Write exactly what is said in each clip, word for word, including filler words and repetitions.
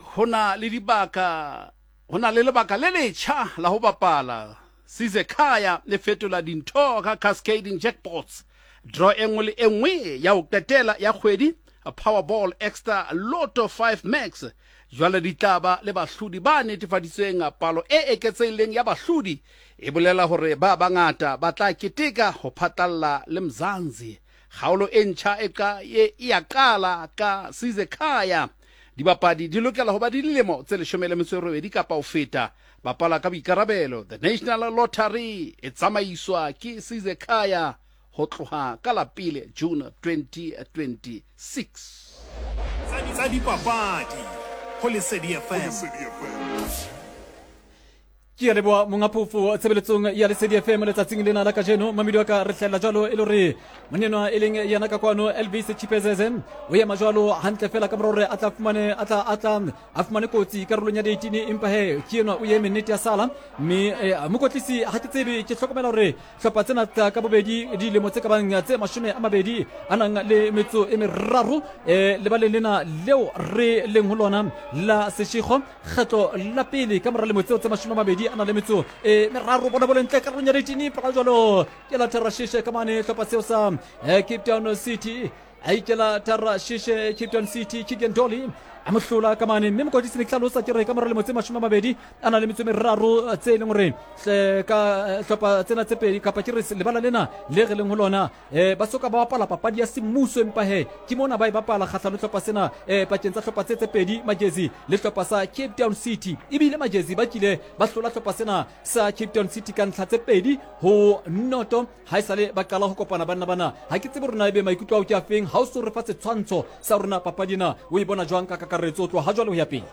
Ho na le dibaka, ho na le lebaka le letjha la ho bapala. Sizekhaya le fetola dintho ka cascading jackpots. Draw e nngwe le e nngwe ya ho qetela ya kgwedi, Powerball Extra Lotto five Max jwale di tla ba le bahlodi ba netefaditsweng. Palo e eketsehileng ya bahlodi e bolela hore ba bangata ba tla keteka ho phatlalla le Mzansi. Kgaolo e ntjha e qa e ya qala ka Sizekhaya. Dibapadi di lokela ho ba di dilemo tse leshome le metso e robedi kapa ho feta. Bapala ka boikarabelo. The National Lottery e tsamaiswa ke Sizekhaya ho tloha ka la pele June twenty twenty-six. Tsa dipapadi ho Lesedi F M. Ke a leboha monga phofo tshebeletsong ya Lesedi F M letsatsing lena la kajeno. Mamedi wa ka re hlahella jwalo e le hore monenwa e leng yena ka kwano Elvis Chipezeze o ema jwalo hantle fela ka mora hore a tla fumane, a tla, a tla, a fumane kotsi karolong ya eighteen, empa he ke enwa o eme nnete ya sala. Mme, eh, mokotlisi ha ke tsebe, ke hlokomela hore hlopha tsena tsa ka bobedi dilemo tse ka bang tse mashome a mabedi a nang le metso e meraro, eh, lebaleng lena leo re leng ho lona la Seshego, kgetlo la pele ka mora lemo tseo tse mashome a mabedi a nang le metso e meraro. Bona bo lentle karolong ya eighteen, empa jwalo ke la Tharashishe ka mane hlopha seo sa, eh, Cape Town City. A ikela Tharashishe Cape Town City, Keegan Dolly a mo hlola ka mane. Mme mokotlisi ne ke hlalosa ke re ka mora lemo tse mashome a mabedi a nang le metso e meraro tse e leng hore hle ka hlopha tsena tse pedi kapa ke re lebala lena le re leng ho lona, eh, ba soka ba bapala papadi ya semmuso, empa he ke mona ba e bapala kgahlano hlopha sena, eh, pakeng tsa hlopha tse tse pedi, Magezi le hlopha sa Cape Town City. Ebile Magezi ba kile ba hlola hlopha sena sa Cape Town City ka ntlha tse pedi ho noto ha esale ba qala ho kopana banna bana. Ha ke tsebe hore na ebe maikutlo ao ke a feng, ha o so re fa setshwantsho sa rona papadi ena o e bona jwang ka kakaretso ho tloha ha jwale ho ya pele?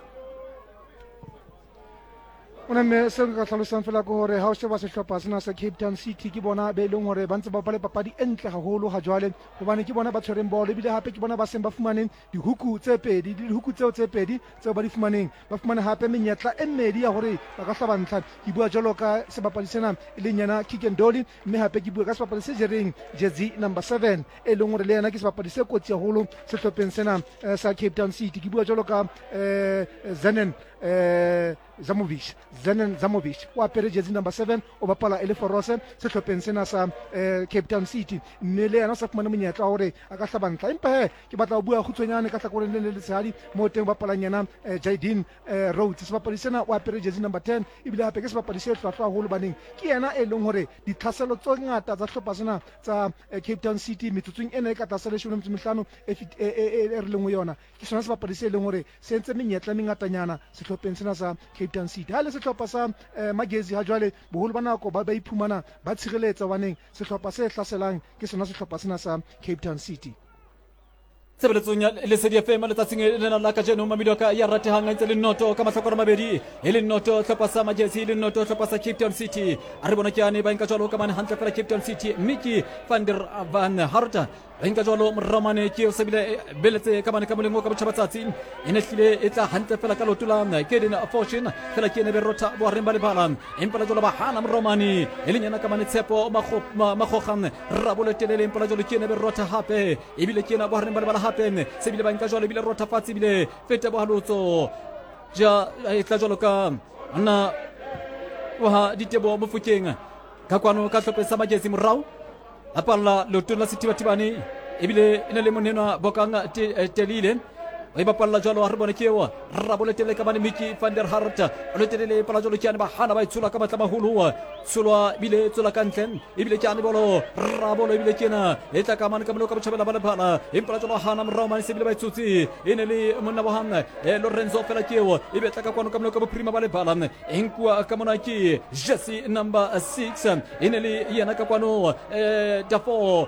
Ona mme seo nka hlalosang fela ke hore ha o sheba sehlopha sena sa Cape Town City, ke bona be leng hore ba ntse ba bapala papadi e ntle haholo ha jwale, hobane ke bona ba tshwereng bolo, ebile hape ke bona ba seng ba fumane dihuku tse pedi, le dihuku tseo tse pedi tseo ba di fumaneng, ba fumane hape menyetla e mmedi ya hore ba ka hlaba ntlha. Ke bua jwalo ka sebapadi sena e leng yena Keegan Dolly, mme hape ke bua ka sebapadi se jereng jersey number seven, e leng hore le yena ke sebapadi se kotsi haholo sehlopheng sena, eh, sa Cape Town City. Ke bua jwalo ka, eh, Zenon, eh, Zamovic, Zenon Zamovic o apere jersey number seven, o bapala e le forose sehlopheng sena sa, eh, Cape Town City, mme le yena o sa fumane monyetla wa hore a ka hlaba ntlha. Empa he ke batla ho bua kgutshwanyane ka hlakoreng le le letshehadi moo teng o bapalang yena, eh, Jadine, eh, Rhodes. Sebapadi sena o apere jersey number ten, ebile hape ke sebapadi se hlwahlwa haholo, baneng ke yena e leng hore ditlhaselo tse ngata tsa sehlopha sena tsa, eh, Cape Town City metsotsong ena e ka tlase leshome le metso e mehlano e fit-, e, e, e, e re leng ho yona, ke sona sebapadi se leng hore se entse menyetla e mengatanyana sehlopheng sena sa Cape Town City. Ha le sehlopha sa, eh, Magezi ha jwale boholo ba nako ba, ba iphumana ba tshireletsa, hobaneng sehlopha se hlaselang ke sona sehlopha sena sa Cape Town City. Tshebeletsong ya Lesedi F M letsatsing lena la kajeno, mamedi wa ka ya ratehang a ntse le noto ka mahlakore a mabedi, e le noto hlopha sa Magezi, e le noto hlopha sa Cape Town City. A re bona ke ane ba nka jwalo ka mane hantle fela Cape Town City, mme ke Van der Van Hart ba nka jwalo morao mane, ke o sebile beletse ka mane ka moleng o ka botjhabatsatsi, e ne hlile e tla hantle fela ka leoto la Kaden Fortune, fela ke ene be rotha bohareng ba lebala, empa la jwalo ba hana morao mane, e leng yena ka mane Tshepo Mago-, Ma-, Magoga Rabolo telele, empa la jwalo ke ene be rotha hape, ebile ke ena bohareng ba lebala hape, se bile ba nka jwalo, ebile rotha fatshe, ebile feta bohalotso ja e tla jwalo ka nna wa Diteboho Mofokeng ka kwano ka hlopheng sa Magezi morao a palla leotong la sethibathibane, ebile e ne le monenwa Bokang Te-, eh, Telile o e bapalla jwalo. Ha re bone ke eo Rabolo telele ka mane Mickey van der Hart o le telele pala jwalo ke ane ba hana ba e tshola ka matla maholo, tsholwa ebile tswela ka ntle, ebile ke ane bolo Rabolo ebile ke ena e tla ka mane ka molao ka botjhabela ba lebala, empa la jwalo hana morao mane se ebile ba e tshotse, e ne le monna wa hang, eh, Lorenzo fela ke eo, e be tla ka kwano ka molao ka bophirima ba lebala, e nkuwa ka mona ke jersey number six, e ne le yena ka kwano, eh, Dafoe,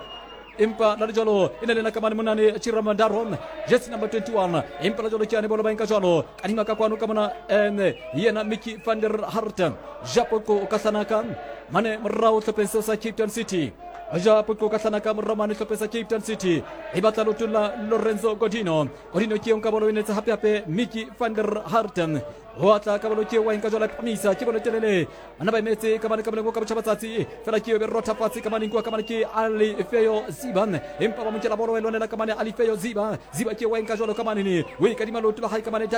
empa la le jwalo e ne le na ka mane monane Chiramandaro jersey number twenty-one, empa la jwalo ke ane bolo ba nka jwalo kadima ka kwano ka mona, eh, yena Mickey van der Hart Japoqo ka hlanaka mane morao hlopheng seo sa Cape Town City, Japoqo ka hlanaka morao mane hlopheng sa Cape Town City, e batla leotong la Lorenzo Godino, Godino ke eo nka bolo e netse hape hape Mickey van der Hart ho atla ka bolo ke wa nka jwalo phamisa ke bolo telele bana ba emetse ka mane ka moleng o ka botjhabatsatsi, fela ke eo be rotha fatshe ka mane nkuwa ka mane ke Alifeyo Ziba, empa ba mo nkela bolo e lwanela ka mane Alifeyo Ziba, Ziba ke wa nka jwalo ka mane ne o e kadima leoto la hae ka mane